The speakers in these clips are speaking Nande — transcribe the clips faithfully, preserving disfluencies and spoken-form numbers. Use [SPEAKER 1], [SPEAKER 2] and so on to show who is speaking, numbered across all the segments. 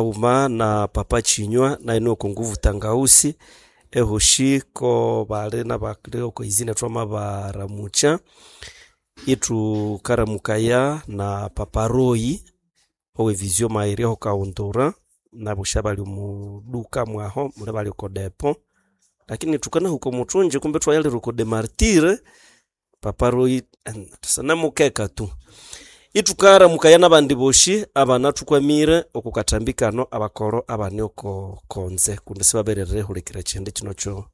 [SPEAKER 1] Hauma na papa Chinywa naye oko nguvu tangausi ehoshi ko bali nabali oko izina twamabaramucha ithukaramukaya na papa Royi owe Vision Mairi ho Kaundura nabosha bali omu duka mwaho muli bali oko depo lakini thukanahuka omuthunji kumbe thwayalira oko de martire papa Royi sanamukeka tu ithukaramukaya nabandi boshi abanathukwamire oko kathambi kano abakoro abane oko konze kundi sibaberere hulikira kyindi kino kyo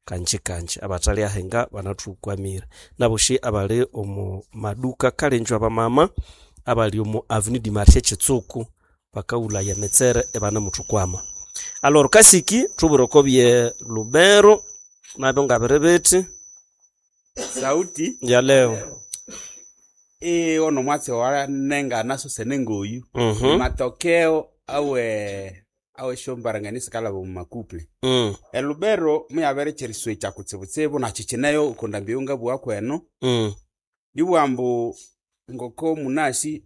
[SPEAKER 1] kanji kanji abathali ahenga banathukwamire naboshi abali omu maduka kalenjo abamama abali omu avenue du marché Kitsuku bakaghulaya emitsere ibanemuthukwama. Alors kasiki thubwire oko bye Lubero nabyo ngabiri bithi
[SPEAKER 2] Sauti
[SPEAKER 1] ya leo
[SPEAKER 2] e ono mwatsi wanengana sosene ngoyu
[SPEAKER 1] Mhm.
[SPEAKER 2] matokeo awe awe shombaranganisa kalaba mu makuple
[SPEAKER 1] Mm.
[SPEAKER 2] elubero muyabere kyeriswe kya kutsibutsibu nakikineyo okunda mbiyunga bwa kweno
[SPEAKER 1] Mm.
[SPEAKER 2] libwambu ngoko munasi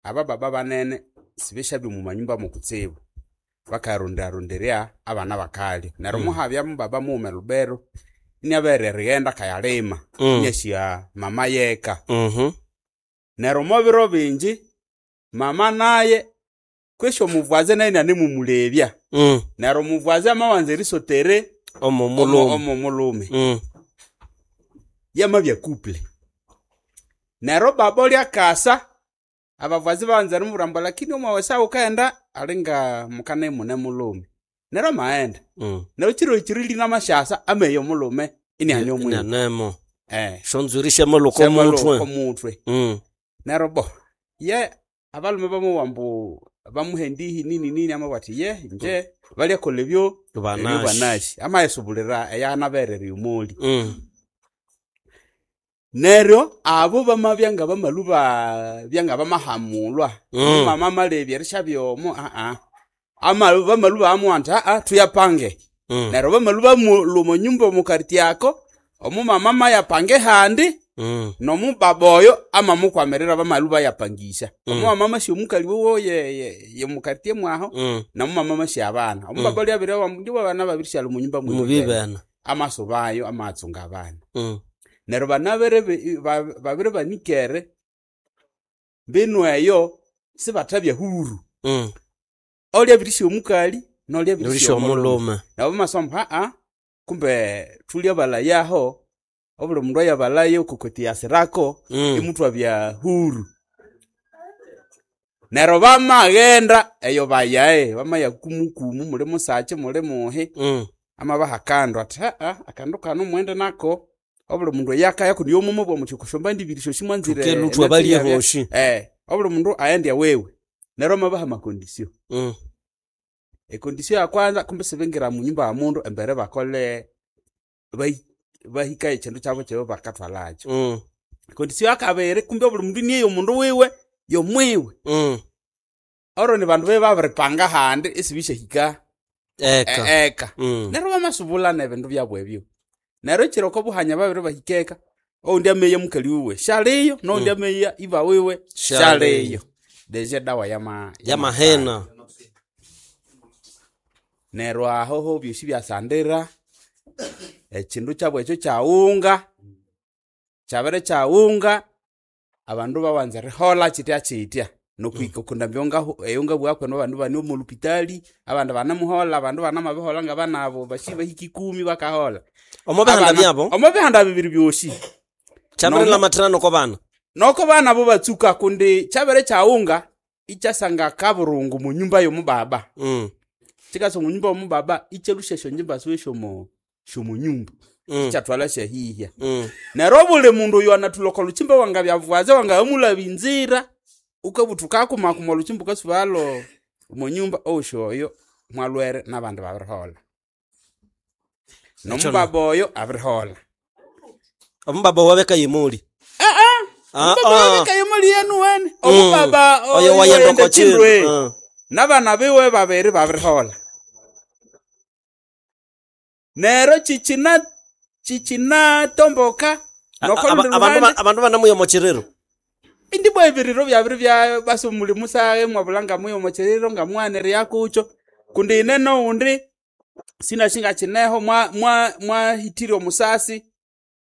[SPEAKER 2] abababa banene sibeshabye mu manyumba mukutsibu bakarundarundirya abana bakali neryo
[SPEAKER 1] Mm.
[SPEAKER 2] muhabya mubaba mume lubero iniabere righenda kayalima
[SPEAKER 1] Mm.
[SPEAKER 2] inyasya mama yeka
[SPEAKER 1] Mhm.
[SPEAKER 2] neryo mobiro bingi mama naye kwesyo omuvwaze naye nanemumulebya
[SPEAKER 1] Mm.
[SPEAKER 2] neryo omuvwaze amawanza erisotere
[SPEAKER 1] Omo mulume.
[SPEAKER 2] omo mulume
[SPEAKER 1] Mm.
[SPEAKER 2] yamabya couple neryo baba olyakasa abavwazi bawanza erimubwira lakini omwawesa wukaghenda alinga mukane mune mulume neryo amaghenda
[SPEAKER 1] Mm.
[SPEAKER 2] neryo kiro ekiri namashasa ameya omulume iniane omwiwe
[SPEAKER 1] Inanemo.
[SPEAKER 2] eh
[SPEAKER 1] Shonzuri shamaluko
[SPEAKER 2] Shamaluko
[SPEAKER 1] mutwe.
[SPEAKER 2] mutwe
[SPEAKER 1] Mm.
[SPEAKER 2] neryo bo ye abalume bamuwa mbu bamuhendihi nini nini amabwa athi ye nje balyakolha ebyo ebyo
[SPEAKER 1] Banashi.
[SPEAKER 2] banashi amayisubulira eyanaberere omuli
[SPEAKER 1] Mm.
[SPEAKER 2] neryo abo bamabya nga bamalu bya nga bamahamulwa
[SPEAKER 1] Mm.
[SPEAKER 2] mama amalebya erishabya omo aa amalu bamalu bamuwa nti aa tuyapange
[SPEAKER 1] Mm.
[SPEAKER 2] neryo bamalu bamulwa omo nyumba omu kariti ako omumama amayapange handi
[SPEAKER 1] Mm.
[SPEAKER 2] nomubaba oyo amamukwamirira bamalu bayapangisha
[SPEAKER 1] Mm.
[SPEAKER 2] omumama amasya omukali wowo ye- ye- yemukartie mwaho
[SPEAKER 1] Mm.
[SPEAKER 2] nomumama amasya abana omubaba lyabire ndibo abana babirisyala omu nyumba
[SPEAKER 1] Mubibena.
[SPEAKER 2] amaso bayo amatsunga abana
[SPEAKER 1] Mm.
[SPEAKER 2] neryo banabere ba- babiri banikere mbinu eyo sibathabya huru
[SPEAKER 1] Mm.
[SPEAKER 2] olyabirisya omukali nolyabirisya
[SPEAKER 1] Nurisha
[SPEAKER 2] omulume
[SPEAKER 1] omulume.
[SPEAKER 2] nabo bamasoma aa kumbe thulya balayaho obuli mundu ayabalayo okokoti yasirako
[SPEAKER 1] Mm.
[SPEAKER 2] imuthwabya huru neryo bamaghenda eyo bayae bamaya kumukumu muli musachi muli muhi
[SPEAKER 1] Mm.
[SPEAKER 2] amabaha akandu athi aa akandu kano mwende nako obuli mundu eyakaya kundi yomumo bwa muthi kushomba ndibiri shoshi mwanzire
[SPEAKER 1] Tukeluthwa balye hoshi.
[SPEAKER 2] eh obuli mundu aende wewe neryo amabaha makondisio
[SPEAKER 1] Mm.
[SPEAKER 2] ekondisio ya kwanza kumbe sibingira mu nyumba ya mundu embere bakole bahi- bahikaye ekindu kyabo kyabo bakathwalakyo
[SPEAKER 1] Mm.
[SPEAKER 2] ekondisio ya kabiri kumbe obuli mundu niye omundu wiwe yomwiwe
[SPEAKER 1] Mm.
[SPEAKER 2] oro ni bandu be babiripanga handi isibisyahika
[SPEAKER 1] Eka.
[SPEAKER 2] e- eka
[SPEAKER 1] Mm.
[SPEAKER 2] neryo bamasubulana ebindu byabu ebyo neryo ekiro oko buhanya babiri bahika eka oundi ameya mukali wiwe syaliyo noundi
[SPEAKER 1] Mm.
[SPEAKER 2] ameya iba wiwe
[SPEAKER 1] Syaliyo.
[SPEAKER 2] syaliyo deja edawa yama
[SPEAKER 1] Yamahena.
[SPEAKER 2] neryo aho byosi byasandira ekindu kyabu ekyo kyawunga kyabere kyawunga abandu babanza erihola kitya kitya nokuhika okunda eyonga bwakwenu abandu bane omu lupitali abandu banemuhola abandu banamabihola nga banabo basi bahika ikumi bakahola
[SPEAKER 1] Omo bihanda
[SPEAKER 2] Abana-
[SPEAKER 1] byabo
[SPEAKER 2] omo bihanda bibiri byosi
[SPEAKER 1] kyabere
[SPEAKER 2] Nomo-
[SPEAKER 1] lamatirano ko bana.
[SPEAKER 2] noko bana bo batsuka kundi kyabere kyawunga ikyasanga kaburungu mu nyumba yomubaba
[SPEAKER 1] Mm.
[SPEAKER 2] kikasa omu nyumba yomubaba ikyalusya esyonjimba siwe syomo syomunyumba
[SPEAKER 1] Mm.
[SPEAKER 2] kyathwala syahihya
[SPEAKER 1] Mm.
[SPEAKER 2] neryo obuli mundu oyo anathulha olukyimba wangabyavwaze wangamulaba inzira ukabuthuka akumakuma olukyimba ukasubalo omu nyumba owosi oyo mwalwere n'abandi babirihola nomubaba oyo abirihola
[SPEAKER 1] Omubaba wabeka yimuli. Ah,
[SPEAKER 2] omubaba
[SPEAKER 1] ah.
[SPEAKER 2] wabeka yimuli yenu wene omubaba
[SPEAKER 1] Oyo wayenda
[SPEAKER 2] oyenda
[SPEAKER 1] oko
[SPEAKER 2] kindu
[SPEAKER 1] kindu. Ah.
[SPEAKER 2] n'abana biwe babiri babirihola neryo kikina kikinatomboka
[SPEAKER 1] A-
[SPEAKER 2] nokolundi
[SPEAKER 1] aba- Abandu
[SPEAKER 2] luhande
[SPEAKER 1] ba- abandu banamuya omo kiriro.
[SPEAKER 2] Indi bwa ebiriro byabiri bya basi omulimu sahe mwabulanga muyo omukiriro ngamwanire kucho kundi ine noundi sinashinga kineho mwa mwa mwahitire omusasi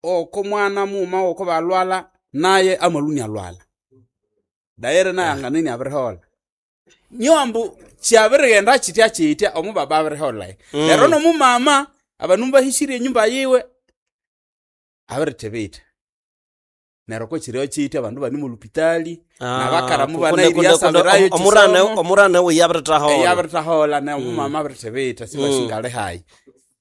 [SPEAKER 2] oko mwana muma oko balwala naye amaluni alwala daire naye anganini abirihola nyombu kyabirighenda kitya kitya omubaba abirihola
[SPEAKER 1] Mm.
[SPEAKER 2] lero nomumama abandu bahishire enyumba yiwe abirithibitha neryo ko kiryo kitya abandu bane mulupitali nabakaramu banairiasabirayo
[SPEAKER 1] omurane omurane we yabiritahola
[SPEAKER 2] eyabiritahola ne omumama abirithibitha sibashingali hayi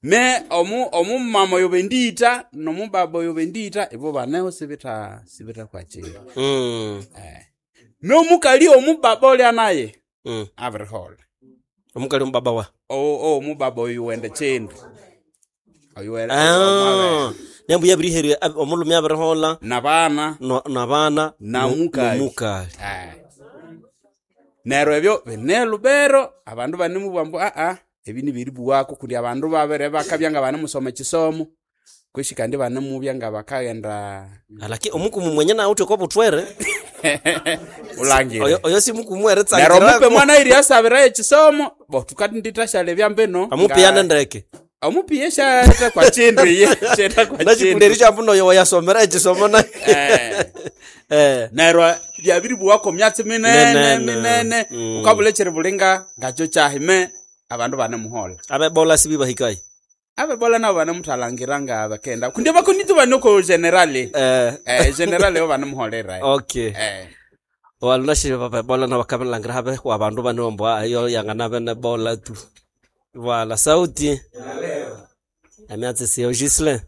[SPEAKER 2] me omu omumama oyo bendita nomubaba oyo bendita ibo baneho sibitha sibitha kwakira
[SPEAKER 1] Mm.
[SPEAKER 2] me omukali omubaba olya naye
[SPEAKER 1] Mm.
[SPEAKER 2] abirihola
[SPEAKER 1] omukali omubaba wa
[SPEAKER 2] o omubaba oyo wende kindu oyo wende
[SPEAKER 1] Ah, nembu yabiriherya omulhume abirihola
[SPEAKER 2] nabana
[SPEAKER 1] no- nabana
[SPEAKER 2] Na
[SPEAKER 1] no-
[SPEAKER 2] mukali.
[SPEAKER 1] nomukali
[SPEAKER 2] Eh. Neryo ebyo bine lubero abandu banemubugha ambu aa ebi nibiribuwako kundi abandu babere bakabya nga banemusoma ekisomo kweshi kandi banemubya nga bakaghenda
[SPEAKER 1] alaki omukumu mwenye nawe uthi okobuthwere
[SPEAKER 2] ulangire
[SPEAKER 1] oyo oyo si mukumu
[SPEAKER 2] neryo omupe
[SPEAKER 1] eritsangirako
[SPEAKER 2] mwana iriasabirayo ekisomo bo tukandithasyala ebyambino
[SPEAKER 1] amupiyane ndeke
[SPEAKER 2] omupiye syatha kwa kindu iye syetha kwa kindu
[SPEAKER 1] nachikuleri kyambu noyo wayasomera ekisomo na
[SPEAKER 2] Eh.
[SPEAKER 1] eh
[SPEAKER 2] neryo byabiribuwako myatsi minene
[SPEAKER 1] Minene.
[SPEAKER 2] minene
[SPEAKER 1] Mm.
[SPEAKER 2] ukabula ekyiribulinga ngakyo kyahime abandu banemuhola
[SPEAKER 1] abebola sibibahikayi
[SPEAKER 2] abebola nabo banemuthalangira nga bakenda kundi bakonitu banoko generale
[SPEAKER 1] eh
[SPEAKER 2] eh generale yo banemuholera
[SPEAKER 1] okay
[SPEAKER 2] eh
[SPEAKER 1] walunashire babebola nabakabilangira habe wabandu banombo ayo yangana bene bola tu wala sauti amyatsi siyo Gislin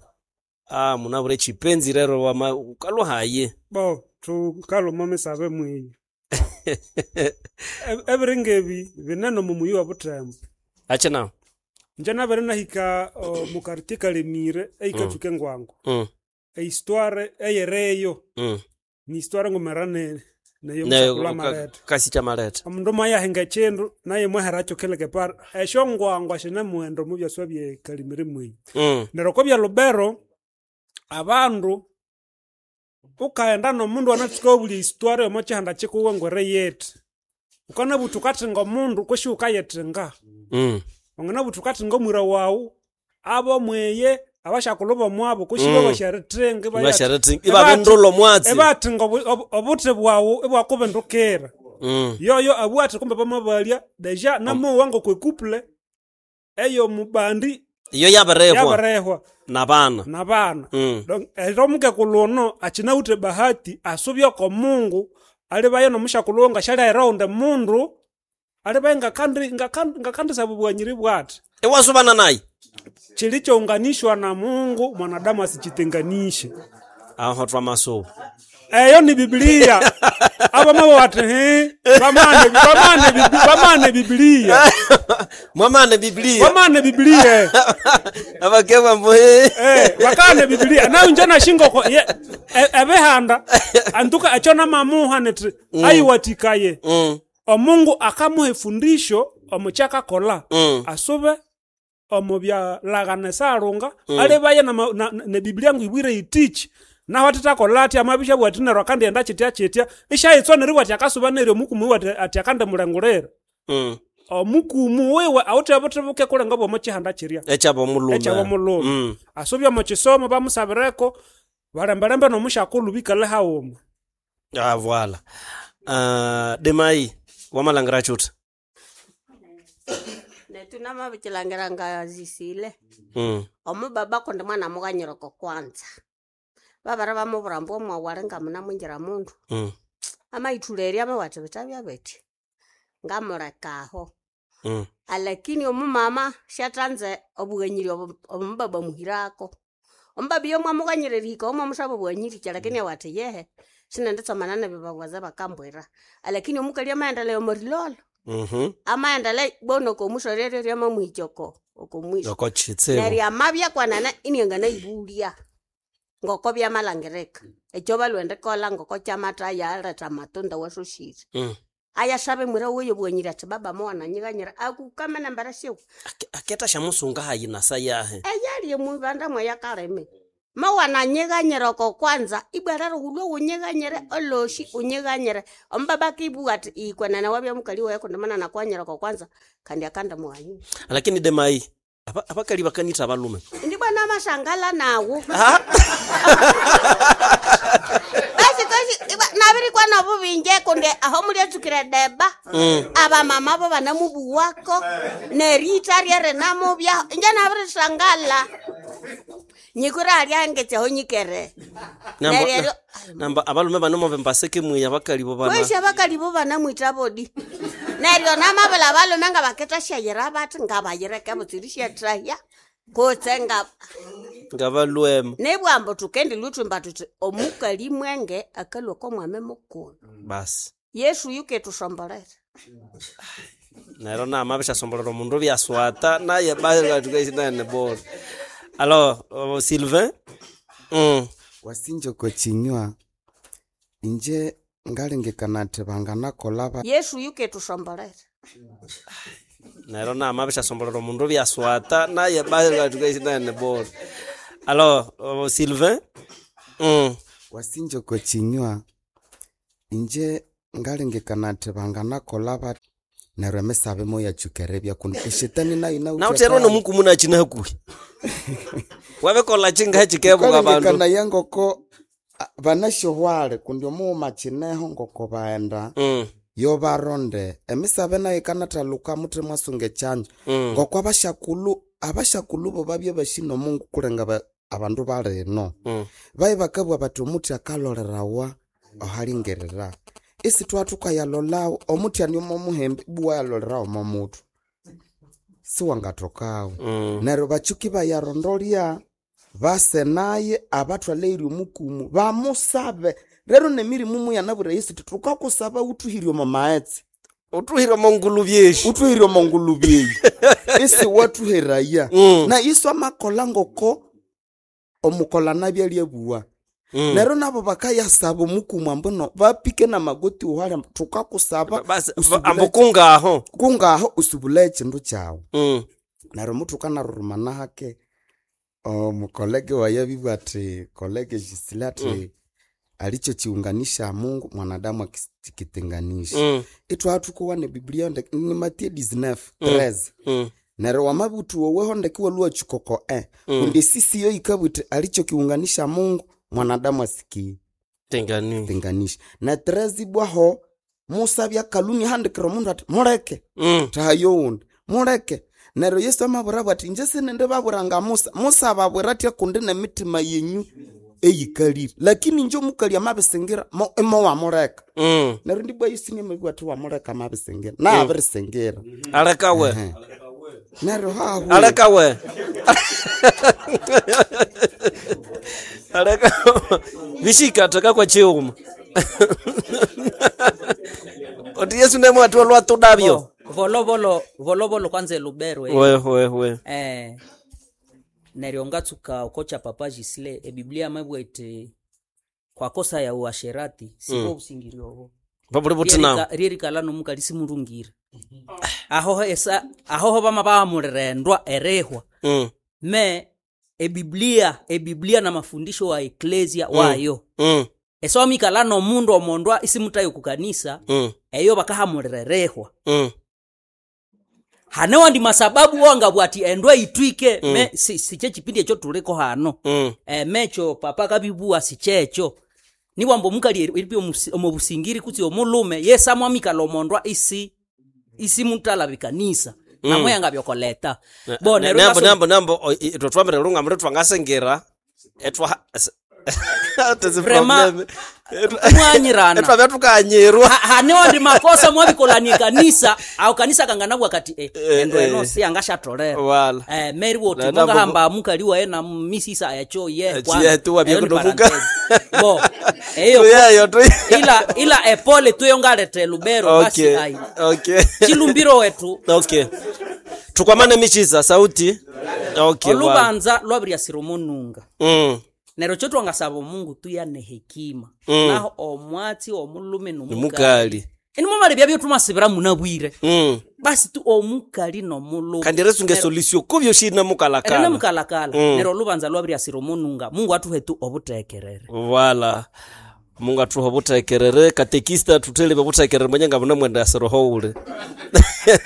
[SPEAKER 1] ah munabure chipenzi rero wama ukalwa haye
[SPEAKER 3] bo thukalhuma misabe mwiyi E- ebiringa ebi binene omu muyi wa Butembo
[SPEAKER 1] ache nawo
[SPEAKER 3] inje nabere nahika omu quartier Kalemire eyikatsuka engwango
[SPEAKER 1] mm
[SPEAKER 3] ehistoire eyereyo
[SPEAKER 1] mm
[SPEAKER 3] ni histoire ngumera ne neyo
[SPEAKER 1] nayo
[SPEAKER 3] musakula maleta
[SPEAKER 1] kasi cha maleta
[SPEAKER 3] omundu mwayahinga ekindu naye mwaherakyo kileke para esyo ngwangwa shine mughendo mu byaswa bye Kalemire mwiyi
[SPEAKER 1] mm
[SPEAKER 3] neryo kobya Lubero abandu ukaghenda nomundu anatsuka obulya histoire omo kihanda kikuwe ngwere yethu ukanabutha ukathinga omundu kweshi wukayithinga
[SPEAKER 1] mm
[SPEAKER 3] wanganabutha ukathinga omwira wawu abomweye abashakulhu bomwabo kweshi
[SPEAKER 1] Mm.
[SPEAKER 3] mm. basharithinga
[SPEAKER 1] basharati ibabendulo mwatsi
[SPEAKER 3] ibathinga obu- obu- obuthi bwawu ibwakubindukira
[SPEAKER 1] mm
[SPEAKER 3] yoyo abwathe kumbe bamabalya deja namowa ngokwe couple eyo mubandi
[SPEAKER 1] iyo yaberehwa
[SPEAKER 3] yabarehwa
[SPEAKER 1] nabana
[SPEAKER 3] nabana
[SPEAKER 1] mm
[SPEAKER 3] Donc, ero omukekulu ono akinawithe bahati asubye oko Mungu alibaye nomushakulhu ngashalyaira oundi mundu alibaye ngakandi ngakandi ngakandisaba obughanyiri bwathi
[SPEAKER 1] iwasubana naye
[SPEAKER 3] kilichounganishwa na Mungu mwanadamu asichitenganishe
[SPEAKER 1] aho twamasubu
[SPEAKER 3] eyo ni Biblia abamabo bati hi bamane bamane Bibli- bamane Biblia
[SPEAKER 1] mwamane biblia
[SPEAKER 3] bamane Biblia
[SPEAKER 1] abakebwa mbu eh.
[SPEAKER 3] Eh, bakane Biblia nayo nje nashinga ko ye- e- ebihanda antuka ekyo namamuha niti ayiwatikaye
[SPEAKER 1] mm
[SPEAKER 3] omungu akamuha efundisho omukyakakola
[SPEAKER 1] mm
[SPEAKER 3] asube omu byalagana esalunga alibaye nama- na- na- ne Biblia ngu ibwire yitichi naho atitakola ati amabisha bwati neryo akandighenda kitya kitya ishayitswa neryo bwati akasuba neryo omukumu wiwe ati- ati akandimulengulira
[SPEAKER 1] mm
[SPEAKER 3] omukumu wiwe awithe obuthi buke kulenga bwomo kihanda kirya
[SPEAKER 1] ekyabo omulhume
[SPEAKER 3] ekyabo omulhume
[SPEAKER 1] mm
[SPEAKER 3] asubye omu kisomo bamusabireko balembelembe nomushakulhu bikale haghuma
[SPEAKER 1] ah voila uh, demai wamalangira chuta
[SPEAKER 4] netu namabikilangira ngazisile
[SPEAKER 1] mm
[SPEAKER 4] omubaba kundi mwana mughanyireko kwanza babara bamubwira ambu omwawali ngamunamwingira mundu
[SPEAKER 1] mm
[SPEAKER 4] amaithulerya amawatha bitabya bithi ngamulekaho
[SPEAKER 1] mm
[SPEAKER 4] alakini omumama syathanze obughanyiri obu omubaba muhirako omubaba iyo mwamughanyira erihika omwamusaba obughanyirikya lakini awathi yehe sinenditsomana nebibabwaza bakambwira alakini omukali amaendelea omorilolo
[SPEAKER 1] mhm
[SPEAKER 4] amaendelea bona okomusoreryo ryamamuhikya oko okomwisho
[SPEAKER 1] oko chitsibu
[SPEAKER 4] neryo amabya kwanene inianganayibulya ngoko byamalangirika ekyo balhwendikola ngoko kyamatha yaletha amatunda wasoshire
[SPEAKER 1] mm
[SPEAKER 4] ayasaba emwira weyo obughanyiri athi baba mowananyighanyira akukamene embere siwe
[SPEAKER 1] Ake- aketa shamusunga hayi nasa yahe
[SPEAKER 4] eyali emwibanda mweyakalime Mawananyiganyira oko kwanza ibwerero wulwe wunyiganyire oloshi unyiganyire omubaba akibugha ati ikwenene wabya mukali waye kundi mana nakwanyira oko kwanza kandi akandimughanyira
[SPEAKER 1] Lakini demai aba- abakali bakanitha abalume.
[SPEAKER 4] Indi bwana amashangala nawu basi kosi iba- nabirikwa nobubinje kundi aho mulyatsukire deba abamama bo banamubuwako nerita ryerenamubyaho inje nabirishangala nyikwira alyangetse aho nyikere
[SPEAKER 1] Namba-
[SPEAKER 4] Neryo-
[SPEAKER 1] namba abalume bano move mbaseke mwiya abakali bo bana
[SPEAKER 4] kwesi abakali bo banamwita bodi neryo namabula balume nga baketasyayira bathi ngabayireke butsiri syathahya kutse nga
[SPEAKER 1] ngabalwema
[SPEAKER 4] nibwambo thukendi luthumba thuthi omukali mwenge akalhwa komwami mukulhu
[SPEAKER 1] basi
[SPEAKER 4] Yesu yuketusombolera
[SPEAKER 1] nero namabishasombolera omundu byaswata naye baatukaisinaene bora alors uh, Sylvain mm.
[SPEAKER 5] Wasinja oko kinywa inje ngalengekana athi banganakolha ba
[SPEAKER 4] Yesu yuketusombolera
[SPEAKER 1] nero namabishasombolera omundu byaswata naye baatukaisinaene bora alors uh, Sylvain mm.
[SPEAKER 5] wasinja oko kinywa inje ngalengekana athi banganakolha ba neryo emisabe moyatsuka eribya kundi eshetani nayo
[SPEAKER 1] nauterwa nomukumu nachina hakuhi wabikola chinga chikebuka bandu
[SPEAKER 5] kalengekana ngoko a- banasyohwale kundi omughuma kineho ngoko baghenda
[SPEAKER 1] mm.
[SPEAKER 5] yobaronde emisabe nayo ikanathaluka muthi mwasunga ekyanjo
[SPEAKER 1] Mm.
[SPEAKER 5] ngoko abasyakulhu abasyakulhu bo babya basi nomungu kulenga ba- abandu balino
[SPEAKER 1] Mm.
[SPEAKER 5] baye bakabugha bathi omuthi akalolerawa ohalingerera isi thwathukayalolawo omuthi ani omo muhembe ibu wayalolerawo omo muthu siwangathokawo
[SPEAKER 1] Mm.
[SPEAKER 5] neryo batsuki bayarondolya base naye abathwaleire omukumu bamusabe rero nemirimu muyanabwira Yesu thi thukakusaba wuthuhire omo maghetse
[SPEAKER 1] utuhire omongulu byeshi
[SPEAKER 5] uthuhire omo ngulube eyi isi wathuheraya
[SPEAKER 1] Mm.
[SPEAKER 5] na Yesu amakolha ngoko omukola nabya lyabuwa
[SPEAKER 1] Mm.
[SPEAKER 5] neryo nabo bakayasaba omukumu ambu bapike namagoti wuhali ambu thukakusaba
[SPEAKER 1] Basi,
[SPEAKER 5] usubule-
[SPEAKER 1] ambukungaho
[SPEAKER 5] kungaho usubule ekindu kyawu
[SPEAKER 1] mm.
[SPEAKER 5] neryo muthukanarurumana hake omukolege waye abibwa athi kolege Gisile athi mm. alichochiunganisha Mungu mwanadamu akikitenganisha
[SPEAKER 1] Mm.
[SPEAKER 5] ithwathukowa ne Biblia ndeke ni Matthew dix-neuf treize
[SPEAKER 1] Mm.
[SPEAKER 5] neryo wamabuthu woweho ndeke walua chikoko e kundi esisi yo yikabwiti alichokiunganisha Mungu mwanadamu asiki
[SPEAKER 1] Tengani.
[SPEAKER 5] tenganisha na treize ibwaho Musa byakaluni handikira omundu athi muleke
[SPEAKER 1] Mm.
[SPEAKER 5] thayo wundi muleke neryo Yesu amabwira ati inje sinindi babwira nga Musa Musa ababwira athi kundi nemitima yenyu eyikalire lakini inje omukali amabisingira mo- imo wamuleka
[SPEAKER 1] Mm.
[SPEAKER 5] neryo ndibwa Yesu niamabibwa athi wamuleka amabisingira naabirisingira
[SPEAKER 1] Alekawe.
[SPEAKER 5] neryo hahu
[SPEAKER 1] Alekawe. Aleka. Bishika taka kwa chiuma. Oti Yesu nemwe ati olwa tudabyo.
[SPEAKER 6] volovolo volovolo kwanza elubero eh.
[SPEAKER 1] We we we.
[SPEAKER 6] eh neryo ngatsuka okocha papa Gisle ebiblia mabwa iti kwa kosa ya uasherati siko mm. busingiri obo
[SPEAKER 1] Babuli butina.
[SPEAKER 6] ryerikala nomukali simulungire ahoho esa ahoho bama bamulirendwa erehwa
[SPEAKER 1] Mm.
[SPEAKER 6] me ebiblia ebiblia na mafundisho wa eklesia mm. wayo
[SPEAKER 1] Mm.
[SPEAKER 6] esawamikala nomundu omondwa isimutayo kukanisa
[SPEAKER 1] Mm.
[SPEAKER 6] eyo bakahamulira erehwa
[SPEAKER 1] Mm.
[SPEAKER 6] hane wandi masababu wangabwa ati endwa itwike mm. me si, siche chipindi echo tuliko hano
[SPEAKER 1] Mm.
[SPEAKER 6] e, mecho papa kabibua sichecho niwambo mukali eri omubusingiri kutsi omulume yesamwamikala omondwa isi isi mutala bikanisa mm. namwe yangabyokoleta bo neryo
[SPEAKER 1] Nambo
[SPEAKER 6] ngaso-
[SPEAKER 1] nambo nambo o- i- itwe twambere lunga muri twangasengira etwa
[SPEAKER 6] Vrema, mwanyirana.
[SPEAKER 1] etwabya tukanyirwa
[SPEAKER 6] Ha- hane wandi makosa mwabikolania kanisa au kanisa kanganabwa kati eh, endo
[SPEAKER 1] eh.
[SPEAKER 6] eno si angashatolera
[SPEAKER 1] Wala.
[SPEAKER 6] eh, meri woti
[SPEAKER 1] Na- nambo-
[SPEAKER 6] mungahamba mukali waye na misisa echo ye
[SPEAKER 1] Eh,
[SPEAKER 6] kwanza.
[SPEAKER 1] chiye tu wabya
[SPEAKER 6] Eyo ni
[SPEAKER 1] kunomuka.
[SPEAKER 6] parenthesi. bo eyo
[SPEAKER 1] Tuyeyo, tuyeyo.
[SPEAKER 6] ila ila epole tuyo ngaleta lubero basi
[SPEAKER 1] okay
[SPEAKER 6] ai
[SPEAKER 1] okay
[SPEAKER 6] chilumbiro wetu
[SPEAKER 1] okay tukwamane michiza sauti okay wala.
[SPEAKER 6] olubanza lwabiryasira omununga
[SPEAKER 1] mm.
[SPEAKER 6] neryo kyo twangasaba omungu tuyane hekima
[SPEAKER 1] Mm.
[SPEAKER 6] naho omwatsi omulume nomukali
[SPEAKER 1] mukali
[SPEAKER 6] inimumala ebyabyo tumasibira munabwire
[SPEAKER 1] mm.
[SPEAKER 6] Basi tu omukali nomulhume
[SPEAKER 1] Kandi erisunga esolution kubyoshi inamukalakala.
[SPEAKER 6] erinamukalakala
[SPEAKER 1] Mm.
[SPEAKER 6] neryo olubanza lwabiryasira omununga. Mungu athuhe tu obutekerere.
[SPEAKER 1] Wala Mungu athuhe obuthekerere. Katekista, thuthelebe obuthekerere mwenye nga bune mwenda asiroho uli.